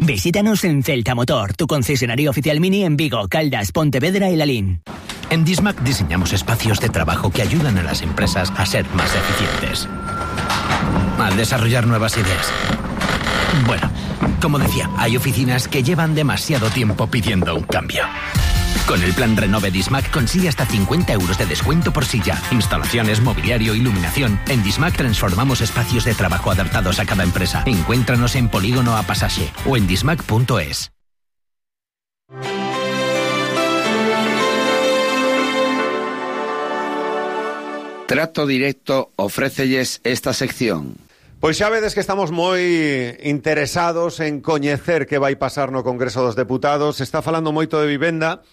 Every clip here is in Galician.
Visítanos en Celta Motor, tu concesionario oficial Mini en Vigo, Caldas, Pontevedra y Lalín. En Dismac diseñamos espacios de trabajo que ayudan a las empresas a ser más eficientes, al desarrollar nuevas ideas. Bueno, como decía, hay oficinas que llevan demasiado tiempo pidiendo un cambio. Con el plan Renove Dismac consigue hasta 50 euros de descuento por silla, instalaciones, mobiliario, iluminación. En Dismac transformamos espacios de trabajo adaptados a cada empresa. Encuéntranos en Polígono A Pasaje o en dismac.es. Trato Directo ofrécelles esta sección. Pois xa vedes que estamos moi interesados en coñecer que vai pasar no Congreso dos Deputados. Se está falando moito de vivenda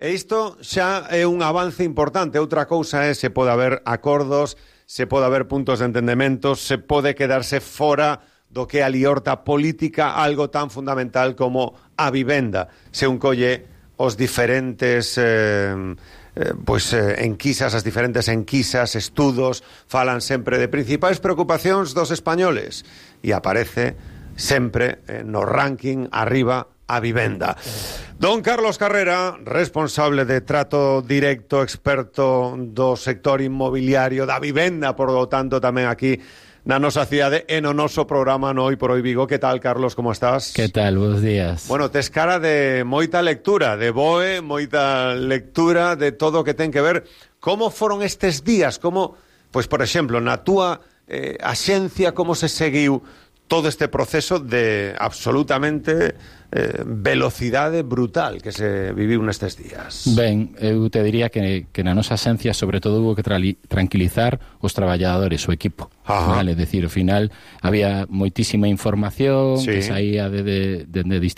e isto xa é un avance importante. Outra cousa é se pode haber acordos, se pode haber puntos de entendemento, se pode quedarse fora do que é a liorta política algo tan fundamental como a vivenda. Se un colle os diferentes enquisas, as diferentes enquisas, estudos, falan sempre de principais preocupacións dos españoles e aparece sempre no ranking arriba a vivenda. Don Carlos Carrera, responsable de Trato Directo, experto do sector inmobiliario da vivenda, por lo tanto tamén aquí na nosa cidade e no noso programa no Hoy por Hoy Vigo. Que tal, Carlos, como estás? Que tal, buenos días. Bueno, tes cara de moita lectura, de BOE, moita lectura de todo o que ten que ver. Como foron estes días? Como, pois, por exemplo, na túa axencia, como se seguiu todo este proceso de absolutamente velocidade brutal que se viviu nestes días? Ben, eu te diría que na nosa axencia sobre todo hubo que tranquilizar os traballadores, o equipo. Vale, decir, ao final había moitísima información, sí, que saía de